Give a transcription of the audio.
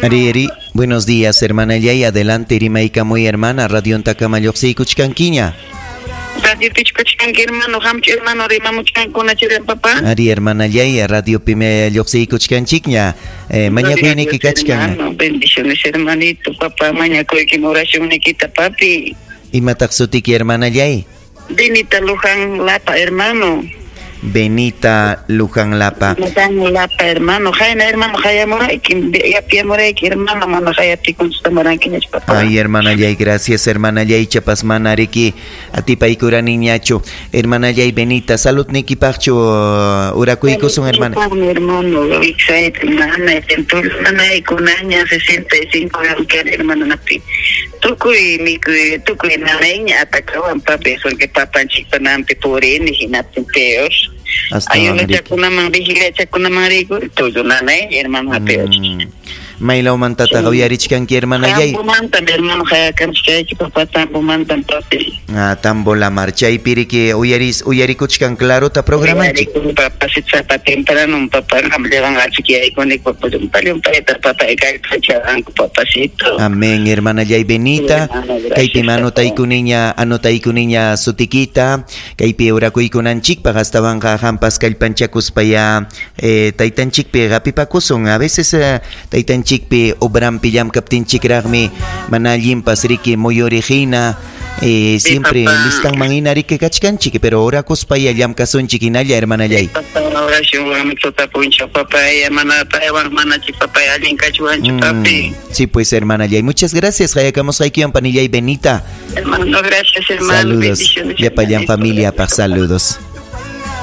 Ari, ari. Buenos días, hermanallay. Adelante, rimaykamuy, hermana. Radiontakama lluqsiykuchkankiña. Radiopichu kachkanki, hermano? Qamchu, hermano, rimamuchkankuna chiran, papá? Ari, hermanallay, radiopimi lluqsiykuchkanchikña. Mañakuyniki kachkan. Hermano, bendiciones, hermanito, papá, mañakuykim oracionnikita, papi. Imataq sutiki, hermanallay? Benita Luján Lapa, hermano. Benita Luján Lapa. Luján Lapa, hermano. Jaina, hermano, hayamurayki, yapiyamurayki, hermano, mana hayapi contestamurankiñachu, papá. Ay, hermanallay, gracias, hermanallay, chapas manariki atipaykuraniñachu. Hermanallay Benita, salud nikipaqchu urakuykusun, hermana. Saludpaqmi, hermano, wiksayta nanay, nanaykunaña, 65 años, hermano, napi. Tukuy mikuy, tukuy nanayña atakawan, papi, porque papanchikpa nampi purini, hinaptin peor. Ayunachakunaman, vigiliachakunaman riyku, tullu nanay, hermano, hapiwachik. Maylawmantataq uyarichkanki, hermanallay? Tambomantam, hermano, hayakamchkayki, papá, Tambomantam, papi. Ah, Tambo la mar, chaypi riki uyarikuchkan clarota programanchik. Uyarikun, papá, sapa temprano, papá, qamllawan achikyaykuni, papá, llumpa llumpayta, papá, kallpachawanku, papacito. Amén, hermanallay Benita. Hermano, gracias, Kaypi papá. anotaykuninña, anotaykuninña sutikita, kaypi urakuykunanchikpaq astawanqa qampas kallpanchakuspaya taytanchikpi hapipakusun. A veces taytanchikpi obrampi llamkaptinchikraqmi mana allinpas riki muyuriqhina, Sí, siempre papá. listanman hina riki kachkanchik, pero orakuspaya llamkasunchik hinalla, hermanallay. Papá, oracionwanmi tuta punchaw, papá, mana paywan manachik, papá, allin kachuwanchu, papi. Sí, pues, hermanallay, muchas gracias. Hayakamusqaykiwan, panillay Benita. Hermano, gracias, hermano. Saludos. Bendiciones, Llapallan hermanito. familia, Gracias, pa papá. saludos.